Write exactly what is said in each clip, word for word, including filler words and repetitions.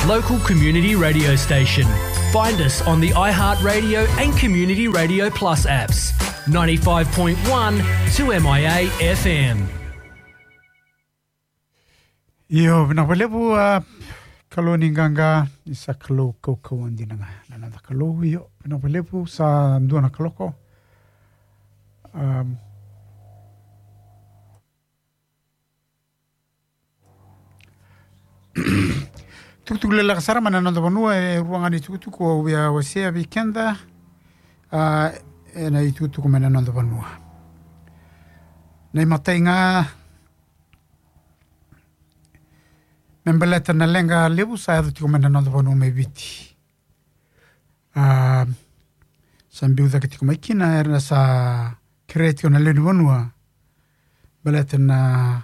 local community radio station. Find us on the iHeartRadio and Community Radio Plus apps. Ninety-five point one two M I A F M. Io, vinaka vakalevu, a, Kalou ni qaqa, ni sa Kalou kaukauwa dina ga. Na noda Kalou, io, vinaka vakalevu, sa dua na kaloko. Um, tukutuku leleka sara mai na noda vanua, e rua ga ni tukutuku au via wasea vei keda, a, ena itukutuku mai na noda vanua. Na imatai ga, me baleta na leqa levu sa yaco tiko mai na noda vanua mai Viti. A, sa biu cake tiko mai kina, era sa kerea tiko na lewe ni vanua. Baleta na,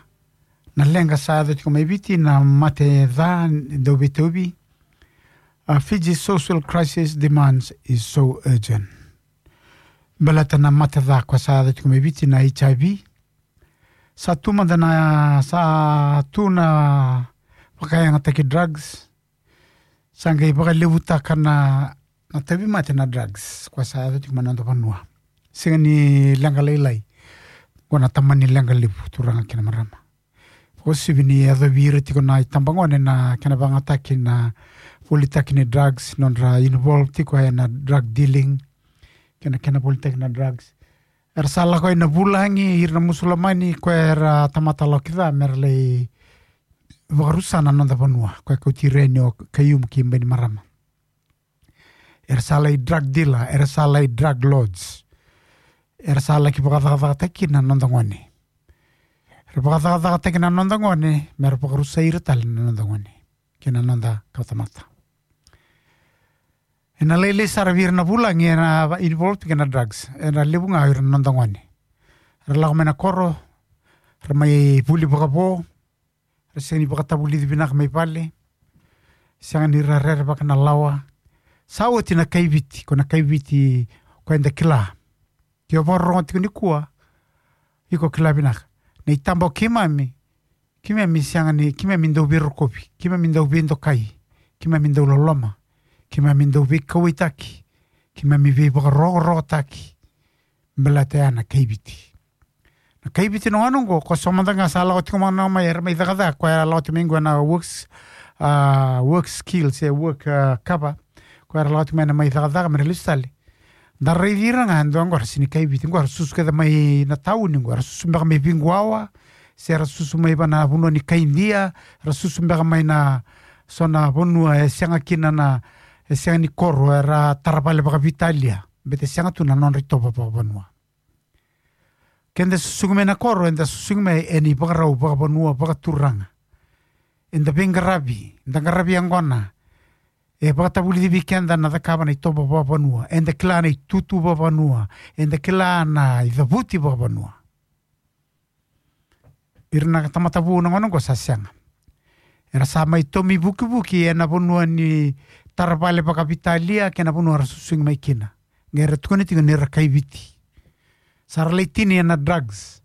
na leqa sa yaco tiko mai Viti, na mate ca, dauveitauvi. A, Fiji social crisis demands is so urgent. Baleta na mate ca koya sa yaco tiko mai Viti, na H I V. Sa tu mada na, sa tu na vakayagataki drugs. Sa qai vakalevutaka na, na tauvimate na drugs koya sa yaco tiko mai na noda vanua. Sega ni leqa lailai. Qo na tamani leqa levu, turaga kei na marama. Vakauasivi ni yacovi ira tiko na itabagone na kena vakayagataki na volitaki ni drugs, nodra involve tiko ena drug dealing, kei na kena volitaki na drugs. Era sa lako ina vulagi ira na Musulamani, koya era tamata lako ca, mera lai vakarusa na noda vanua, koya kauti ira yani o Khaiyum kei Bainimarama. Era sa lai drug dealer, era sa lai drug lords. Era sa laki vakacakacakataki na noda gone. Era vakacakacakataki na noda gone, mera vakarusai ira tale na noda gone kei na noda kawatamata. Ena lailai sara vei ira na vulagi ena va-, involve kei na drugs. Ena levu ga ira na noda gone. Ra lako mai na koro, ra mai vuli vakavo, ra sega ni vakatavulici vinaka mai vale, sega ni ra rerevaka na lawa. Sa oti na kaiviti, ko na kaiviti ko eda kila. Ke o vakarorogo tiko nikua, iko kila vinaka. Na itaba o keimami, keimami sega ni, keimami dau veirokovi, keimami dau veidokai, keimami dau loloma, keimami dau veikauwaitaki, keimami veivakarokorokotaki. Baleta ya na kaiviti. Na kaiviti na gauna oqo, ko so mada ga sa lako tiko mai na mai, era mai cakacaka, ko era lako tiko mai qo na works, a, work skills, e work, a, cover. Ko era lako tiko mai na mai cakacaka, mera lesu tale. Da raici ira ga, e dua qo ra sega ni kaiviti, qo ra susu kece mai na tauni, qo ra susu beka mai Viguawa, se ra susu mai va na vanua ni kai Idia, ra susu beka mai na so na vanua e sega kina na, e sega ni koro, era tara vale vakaveitalia, baleta e sega tu na nodra itovo vakavanua. Keda susugi mai na koro, eda susugi mai ena ivakarau vakavanua, vakaturaga. Eda veiqaravi, eda qaravi yaqona. E vakatavulici vei keda na cakava na itovo vakavanua. Eda kila na itutu vakavanua. Eda kila na icavuti vakavanua. Ira na tamata vou na gauna oqo sa sega. Era sa mai tomi vukivuki ena vanua ni tara vale vakaveitalia kei na vanua era susugi mai kina. Qai ra tukuna tiko ni ra kaiviti. Sa ra lai tini ena drugs.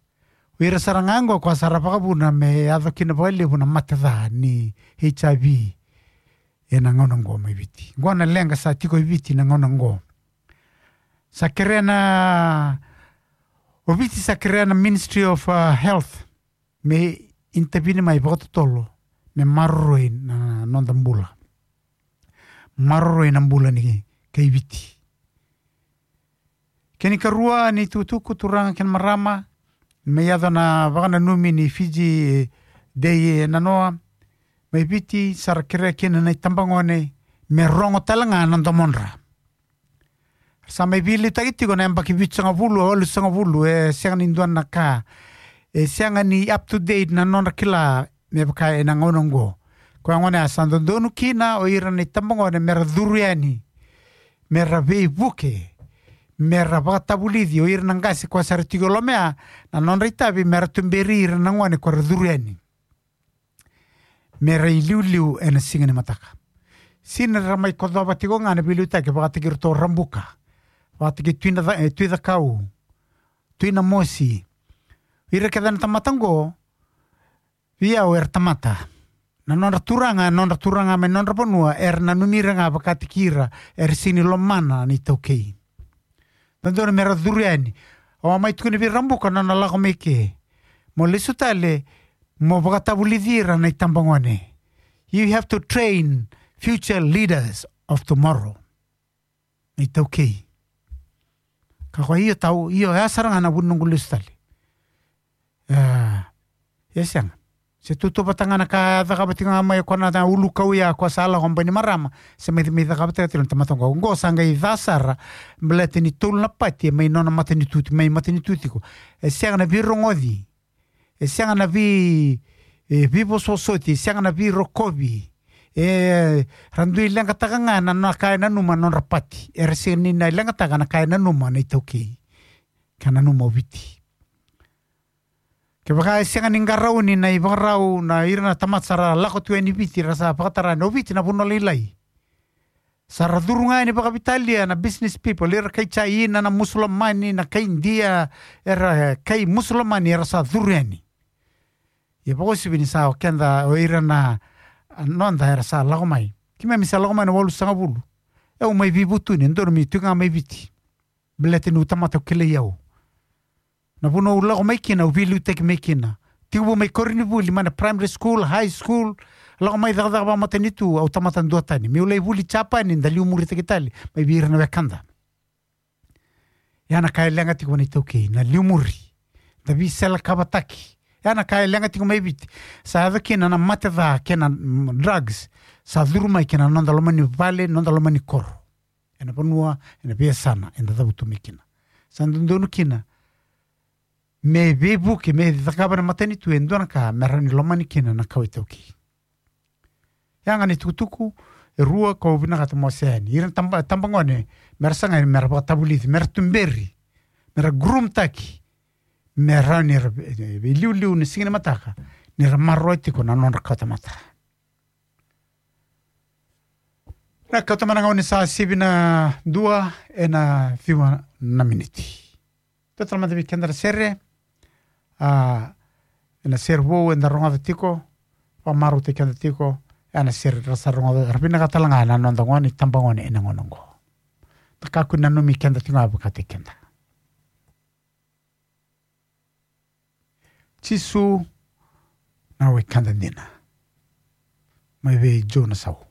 O ira sara ga oqo koya sa ra vakavuna me yaco kina vakalevu na mate ca ni H I V ena gauna oqo mai Viti. Oqo na leqa sa tiko e Viti na gauna oqo. Sa kerea na, o Viti sa kerea na Ministry of, uh, Health me intervene mai vakatotolo, me maroroi na noda bula. Maroroi na bula ni kai Viti. Kena ikarua ni tukutuku, turaga kei na marama, me yaco na vakananumi ni Fiji Day e nanoa mai Viti, sa ra kerea kina na itabagone me rogo tale ga na domodra. Sa mai veiliutaki tiko na yabaki vitusagavulu, walusagavulu, e sega ni dua na ka, e sega ni up to date na nodra kila me vaka ena gauna oqo. Koya gona ya sa dodonu kina o ira na itabagone mera curu yani, mera veivuke, mera vakatavulici o ira na qase koya sa ra tiko e loma ya, na nodra itavi mera tuberi ira na gone koya ra curu yani. Mera iliuliu ena siga ni mataka. Sega ni ra mai kocova tiko ga na veiliutaki vakataki iratou Rabuka, vakataki Tui na Ca-, e, Tui Cakau, Tui Namosi. Ira kece na tamata oqo, vei au era tamata. Na nodra turaga, nodra turaga mai nodra vanua, era nanumi ira ga vakataki ira, era sega ni lomana na iTaukei. Dodonu mera curu yani. Au a mai tukuna vei Rabuka na nona lako mai ke. Mo lesu tale, mo vakatavulici ira na itabagone. You have to train future leaders of tomorrow. Na iTaukei. Ka koya io tau, io, ya sara ga na vu ni noqu lesu tale. Ah, e sega. Se tautauvata ga na ka e cakava tiko ga mai o koya na ulukau ya, o koya sa lako mai Bainimarama, se mai, mai cakava tiko na tamata oqo. Oqo sa qai ca sara, baleta ni tolu na pati e mai nona matanitu, mai matanitu tiko. E sega na veirogoci, e sega na vei, e, veivosovosoti, e sega na veirokovi. E, ra dui leqataka ga na, na ka e nanuma na nodra pati. Era sega ni na leqataka na ka e nanuma na iTaukei, ka nanuma o Viti. Kevaka e sega ni qarauni na ivakarau, na ira na tamata sa ra lako tu yani Viti, ra sa vakatara yani o Viti na vanua lailai. Sa ra curu ga yani vakaveitalia na business people, ira kai China, na Musulamani, na kai Idia, era kai Musulamani, era sa curu yani. Ia vakauasivi ni sa o keda, o ira na, a, noda era sa lako mai. Keimami sa lako mai na walusagavulu. E, au mai veivutuni, e dodonu meu tiko ga mai Viti. Baleta niu tamata, au kilai au. Na vanua au lako mai kina, au veiliutaki mai kina. Tekivu mai koronivuli, mai na primary school, high school, lako mai cakacaka vakamatanitu, au tamata duatani. Meu lai vuli Japani, da liumuritaki tale mai vei ira na wekada. Ya na ka e leqa tiko na iTaukei, na liumuri. Da veiselekavataki. Ya na ka e leqa tiko mai Viti. Sa yaco kina na mate ca kei na, mm, drugs. Sa curu mai kina noda loma ni vale, noda loma ni koro. Ena vanua, ena veiyasana eda cavutu mai kina. Sa dodonu kina me veivuke, me cakava na matanitu e dua na ka me rawa ni lomani kina na kawa iTaukei. Ya ga na itukutuku e rua kau vinakata mo wasea yani. Ira na taba, tabagone, mera sagai, mera vakatavulici, mera tuberi, mera groom taki, me rawa ni ra, e, veiliuliu ni siga ni mataka, ni ra maroroya tiko na nodra kawatamata. Na kawatamata na gauna sa sivi na dua ena ciwa na miniti. Tou tala mada vei keda na sere, a, ena sere vou eda rogoca tiko, vakamarautaki keda tiko, ena sere ra sa rogoca, ra vinakata tale ga na noda gone, itabagone ena gauna oqo. Da kakua ni nanumi keda tiko ga vakataki keda. Jisu na wekada dina. Mai vei Joe Nausau.